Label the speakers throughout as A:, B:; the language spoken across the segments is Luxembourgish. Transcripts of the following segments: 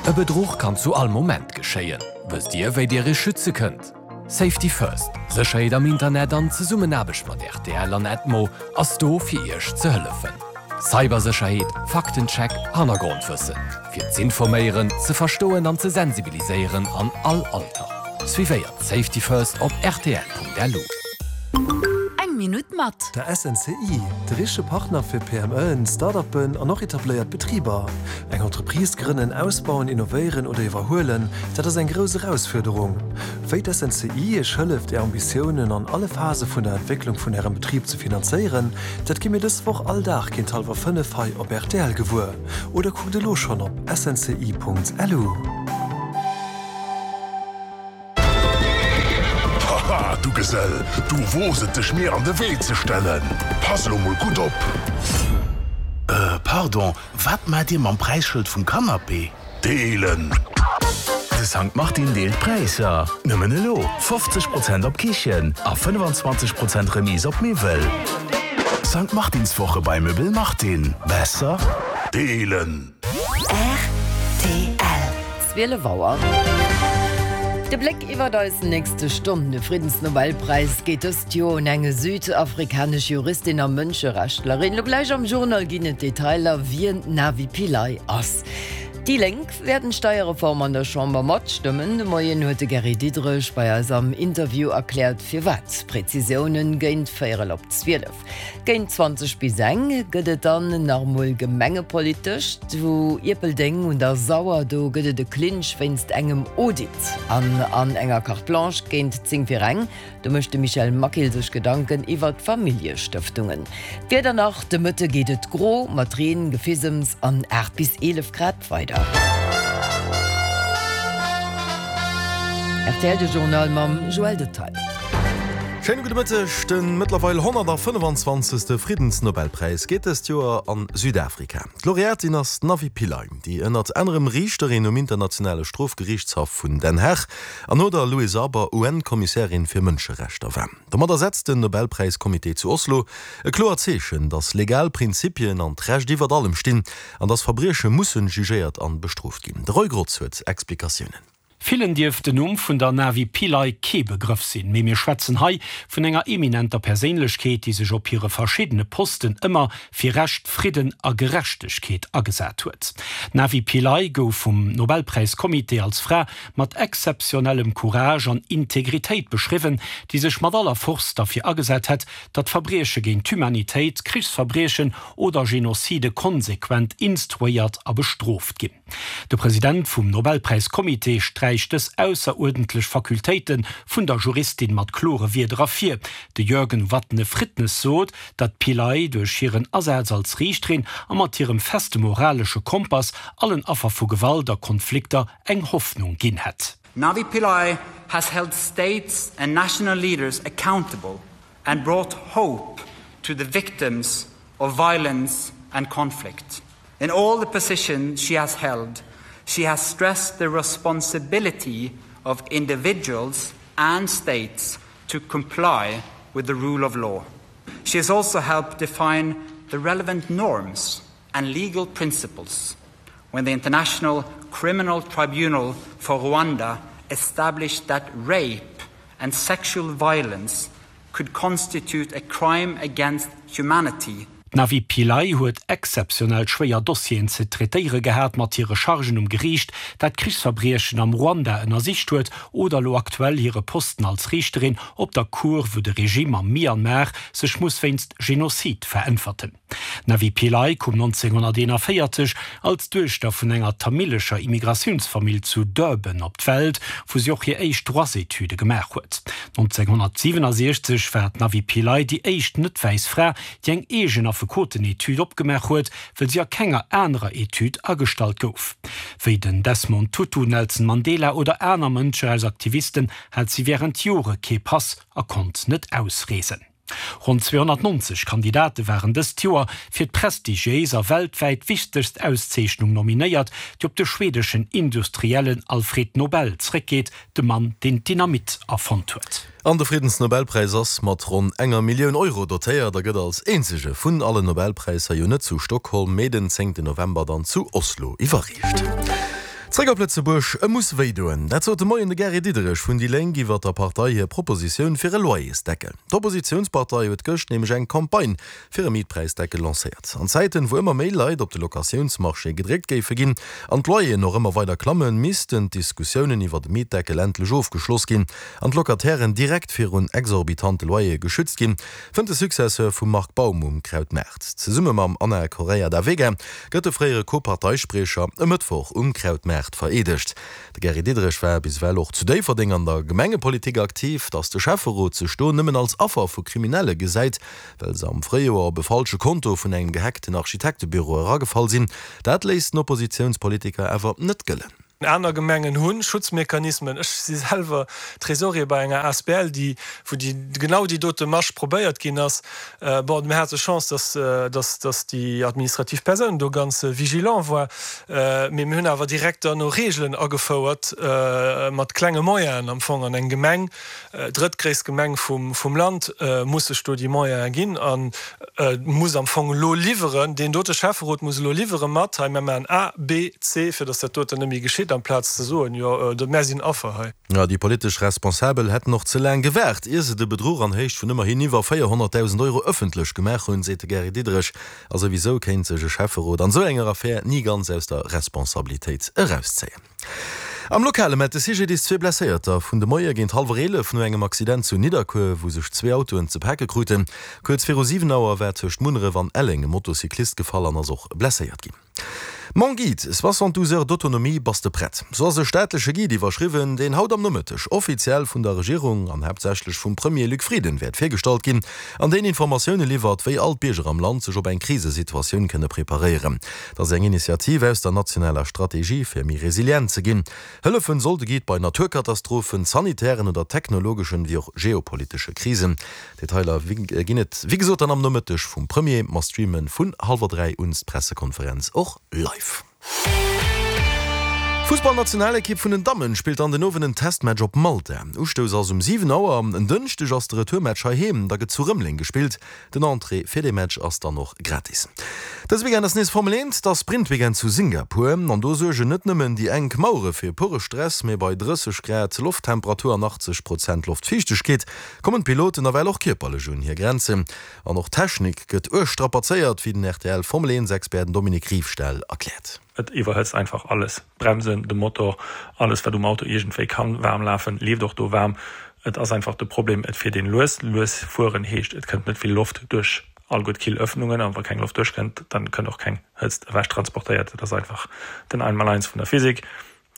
A: E Bedruch kann zu all Moment geschéien. Wësst Dir, wéi Dir Iech schütze kënnt? Safety First, Sécherheet am Internet an Zesummenaarbecht mat rtl an Edmo ass do fir Iech ze hëllefen. Cybersécherheet, Faktencheck, Hannergrondwëssen. Fir z'informéieren, ze verstoen an ze sensibiliséieren an all Alter. Suivéiert Safety First op rtl.lu.
B: Eng Minutt mat.
C: Der SNCI, de richtege Partner fir PMEen, Start-uppen an och etabléiert Betriber. Eng Entreprise grënnen, ausbauen, innovéieren oder iwwerhuelen, dat ass eng grouss Erausfuerderung. Wéi d'SNCI Iech hëlleft, Är Ambitiounen an alle Phase vun der Entwécklung vun Ärem Betrib ze finanzéieren, dat gi mir dës Woch all Dag géint hallwer 5 hei op rtl gewuer. Oder kuckt elo schonn op snci.lu.
D: Haha, du Gesell, du woos et dech mir an de Wee ze stellen. Pass elo mol gutt op!
E: Äh, pardon, wat maacht dir mam Präisschëld vum Canapé?
D: Deelen!
E: De Sankt Martin deelt Präisser! Nëmmen elo 50 Prozent op Kichen a 25 Prozent Remise op Miwwel. Sankt Martinswoche bei Möbel Martin. Besser?
D: Deelen!
B: Rtl. 12 Auer. De Bléck iwwert eis nächste Stonn, De Friddensnobelpräis geet dëst Joer un eng südafrikanesch Juristin a Mënscherechtlerin. Lo gläich am Journal ginn et Detailer, wien d'Navi Pillay ass. Déi Lénk wäerten d'Steierreform an der Chamber matstëmmen. De Moien huet de Gary Diderich bei eis am Interview erkläert, firwat. Prezisiounen géint véierel op 12. Géint 20 bis eng gëtt et dann nach emol gemengepolitesch. Zu Ierpeldeng un der Sauer, do gëtt et e Clinch wéinst engem Audit. An an enger Carte Blanche géint 10 vir eng, do mécht de Michel Maquil sech Gedanken iwwer d'Familljestëftungen. D'Wieder nach, De Mëtte geet et gro mat Reen, Gefisems an 8 bis 11 Grad weider. Rtl, de Journal mam Joël Detaille.
F: Schéine gudde Mëtteg. De mëttlerweil 125. Friddensnobelpräis geet dëst Joer an Südafrika. D'Laureatin ass d'Navi Pillay, déi ënnert anerem Riichterin um internationale Strofgeriichtshaff vun Den Haag an no der Louise Arbour UN-Kommissärin fir Mënscherechter war. Domadder setzt den Nobelpräiscomité zu Oslo e kloert Zeechen, datt legal Prinzipien an d'Recht iwwert allem stinn an datt Verbrieche mussen jugéiert an bestrooft ginn. De Roy Grotz huet Explikatiounen.
G: Villen dierft den Numm vun der Navi Pillay kee Begrëff sinn, mee mir schwätzen hei vun enger eminenter Perséinlechkeet, déi sech op hire verschiddene Posten ëmmer fir Recht, Fridden a Gerechtegkeet agesat huet. D'Navi Pillay gouf vum Nobelpräiscomité als Fra mat exzeptionellem Courage an Integritéit beschriwwen, déi sech mat aller Force derfir agesat hätt, datt Verbrieche géint d'Humanitéit, Krichsverbriechen oder Genocide konsequent instruéiert a bestrooft ginn. De President vum Nobelpräiscomité sträicht dës ausseruerdentlech Fakultéite vun der Juristin mat klore Wierder ervir. De Jørgen Watne Frydnes sot, datt d'Pillay duerch hiren Asaz als Riichterin a mat hirem feste moralesche Kompass allen Affer vu Gewalt a Konflikter eng Hoffnung ginn hätt.
H: Navi Pillay has held states and national leaders accountable and brought hope to the victims of violence and conflict. In all the positions she has held, she has stressed the responsibility of individuals and states to comply with the rule of law. She has also helped define the relevant norms and legal principles when the International Criminal Tribunal for Rwanda established that rape and sexual violence could constitute a crime against humanity.
G: D'Navi Pillay huet exzeptionell schwéier Dossieren ze traitéiere gehat mat hire Chargen um Geriicht, dat Krichsverbriechen am Ruanda ënnersicht huet, oder elo aktuell hire Posten als Riichterin op der Cour, wou de Regime am Myanmar sech muss wéinst Genozid veräntwerten. D'Navi Pillay koum 1941 als Duechter vun enger tamilescher Immigratiounsfamill zu Durban op d'Welt, wou si och hir éischt Droitsetüde gemaach huet. 1967 war d'Navi Pillay déi éischt net-wäiss Fra, déi eng eegen Affekotenetüd opgemaach huet, wëll si a kenger anerer Etüd agestallt gouf. Wéi den Desmond Tutu, Nelson Mandela oder aner Mënscherechtsaktivisten hat si wärend Jore kee Pass a konnt net ausreesen. Ronn 290 Kandidate waren dëst Joer fir d'prestigiéis a weltwäit wichtegst Auszeechnung nominéiert, déi op de schweedeschen Industriellen Alfred Nobel zréckgeet, de Mann, deen d'Dynamit erfonnt huet.
F: An de Friddensnobelpräis ass mat ronn enger Millioun Euro dotéiert a gëtt als eenzege vun allen Nobelpräisser jo net zu Stockholm, mee den zéngten November dann zu Oslo iwwerreecht. Zréck op Lëtzebuerg, E muss wéi doen. Dat sot de Moien de Gary Diderich vun déi Lénk iwwer der Partei hir Propositioun fir e Loyersdeckel. D'Oppositiounspartei huet gëscht nämlech eng Campagne fir e Mietpräisdeckel lancéiert. An Zäiten, wou ëmmer méi Leit op de Locatiounsmarché gedréckt géife ginn an d'Loyeren och ëmmer weider klammen, missten d'Diskussiounen iwwer e Mietdeckel endlech ofgeschloss ginn an d'Locatairen direkt virun exorbitante Loyere geschützt ginn, fënnt de Successeur vum Marc Baum um Krautmaart. Zesumme mam Ana Correia da Vega gëtt de fréiere Co-Parteispriecher e Mëttwoch um Krautmaart vereedegt. De Gary Diderich war bis ewell och zu Déifferdeng an der Gemengepolitik aktiv. Datt de Schäfferot sech do nëmmen als Affer vu Kriminelle gesäit, well se am Fréijoer op e falsche Konto vun engem gehackten Architektebüro eragefall sinn, dat léisst den Oppositiounspolitiker awer net gëllen.
I: Aner Gemengen hu Schutzmechanismen. Ech si selwer Trésorier bei enger asbl, déi, wou déi, genau déi dote Masch probéiert ginn ass. Bon, mir hate Chance, dass, dass, dass déi administrativ Persoun do ganz vigilant war. Mee mir hunn awer direkt dann och Regeln agefouert, mat klenge Moyenen am Fong. An eng Gemeng, drëttgréisst Gemeng vum Land, muss sech do déi Moyene ginn a muss am Fong elo liwweren, deen dote Schäfferot muss elo liwwere mat, hei, mir maachen A, B, C, fir datt dat doten net méi geschitt, amplaz ze soen, jo, mär sinn Affer hei.
F: Jo, déi politesch Responsabel hätten och ze laang gewaart, ier se de Bedruch an Héicht vun ëmmerhin iwwer 400.000 Euro ëffentlech gemaach hunn, seet de Gary Diderich. A souwisou kéint sech e Schäfferot an esou enger Affär ni ganz aus der Responsabilitéit erauszéien. Am Lokale mellt de CGDIS zwee Blesséierter vun de Moie géint hallwer 11 no engem Accident zu Nidderkuer, wou sech zwee Autoen ze pake kruten. Kuerz viru 7 Auer war tëscht Munneref an Elleng e Motocyclist gefall an ass och blesséiert ginn. Mon Guide, 72 heures d'autonomie, bass de prett? Sou ass e staatleche Guide iwwerschriwwen, deen haut am Nomëtteg offiziell vun der Regierung an haaptsächlech vum Premier Luc Frieden wäert virgestallt ginn an deen Informatioune liwwert, wéi all d'Bierger am Land sech op eng Krisesituatioun kënne preparéieren. Dat ass eng Initiativ aus der nationaler Strategie, fir méi resilient ze ginn. Hëllefen soll de Guide bei Naturkatastrophen, sanitären oder technologeschen, wéi och geopolitesche Krisen. Detailer ginn et wéi gesot dann am Nomëtteg vum Premier. Mer streamen vun hallwer 3 un d'Pressekonferenz och live. D'Fussballnationalekipp vun den Dammen spillt an den Owend en Testmatch op Malta. Ustouss ass um 7 Auer. En Dënschdeg ass de Retourmatch heiheem, da gëtt zu Rëmeleng gespillt. Den Entrée fir dee Match ass dann och gratis. Dëse Weekend ass nees Formel 1, da Sprint-Weekend zu Singapur. An do suergen net nëmmen déi enk Mauere fir pure Stress, mee bei 30 Grad Lofttemperatur an 80 Prozent Loftfiichtegkeet kommen d'Piloten nawell och kierperlech un hir Grenzen. An och d'Technik gëtt uerg strapazéiert, wéi den rtl Formel 1 Expert Dominique Riefstahl erkläert.
J: Et iwwerhëtzt einfach alles, d'Bremsen, de Motor, alles wat um Auto iergendwéi kann waarm lafen, leeft och do waarm. Et ass einfach de Problem, et fiert een lues. Lues fueren heescht, et kënnt net vill Loft duerch alleguer d'Killöffnungen, an wa keng Loft duerchkënnt, dann kënnt och keng Hëtzt ewech transportéiert. Dat ass einfach den Einmaleins vun der Physik.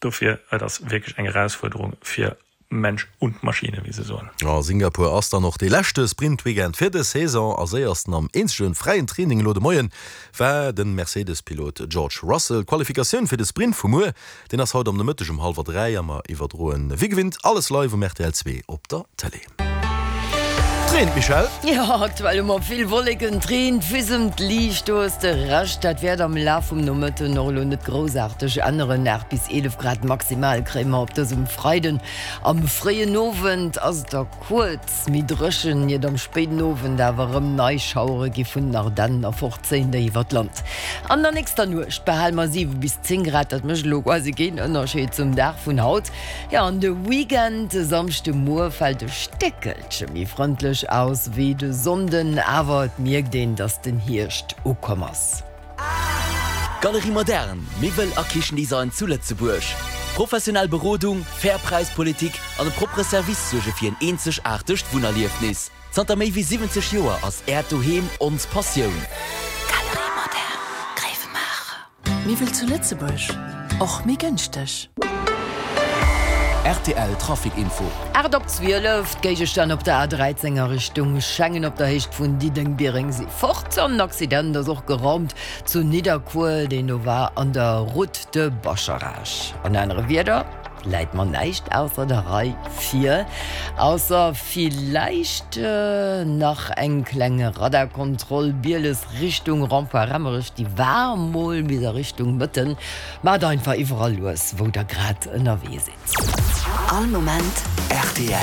J: Dofir, et ass wierklech eng Erausfuerderung fir Mensch und Maschine, wéi se soen.
F: A Singapur ass dann och dee leschte Sprint-Weekend fir dës Saison. A séiersten am eenzege fräien Training elo de Moien war de Mercedes-Pilot George Russell. D'Qualifikatioun fir de Sprint vu muer, deen ass haut am Nomëtteg um hallwer 3 a mer iwwerdroen wéi gewinnt alles live um rtl 2 op der Tëlee. Et reent, Michèle.
B: Jo, aktuell hu mer vill Wolleken, et reent, fisemt liicht, do hues de Recht. Dat wäert am Laf vum Nomëtten och elo net groussaarteg änneren. 8 bis 11 Grad maximal kréie mer op dësem Freiden. Am fréien Owend ass et da kuerz méi dréchen, iert am spéiden Owend awer erëm nei Schauere gi vun den Ardennen erforzéien, déi iwwer d'Land. An der nächster Nuecht behale mer 7 bis 10 Grad, dat mécht elo quasi keen Ënnerscheed zum Dag vun haut. Jo, an de Weekend, de Samschdemuer fält e Stéckelche méi frëndlech aus wéi de Sonnden, awer et mierkt een, dass den Hierscht ukomm ass.
K: Galerie Moderne, Miwwel a Kichendesign zu Lëtzebuerg. Professionell Berodung, fair Präispolitik an e proppere Service suerge fir en eenzegaartegt Wunnerliefnis. Zanter méi wéi 70 Joer ass Äert Doheem ons Passioun.
L: Galerie Moderne, Gréiwemaacher. Miwwel zu Lëtzebuerg, och méi gënschteg.
K: Rtl Trafic Info.
B: 8 op 12, D'Géigestänn op der A13 a Richtung Schengen op der Héicht vun Diddeleng-Biereng si fort. An en Accident ass och geraumt zu Nidderkuer, deen do war an der Route de Bascharage. An anere Wierder, läit mer näischt ausser der Rei vir, ausser villäicht nach eng kleng Radarkontroll Bieles Richtung Rond-point Remmerech, déi war mol bis a Richtung Mëtten. Maacht einfach iwwerall lues wou der grad ënnerwee sidd.
L: All Moment
E: rtl.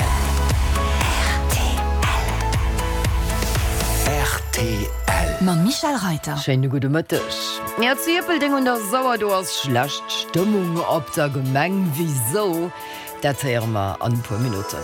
E: Rtl. Rtl.
B: Mam Michèle Reiter. Schéine gudde Mëtteg. Jo, zu Ierpeldeng un der Sauer, do ass schlecht Stëmmung op der Gemeng. Wisou? Dat héiere mer an e puer Minutten.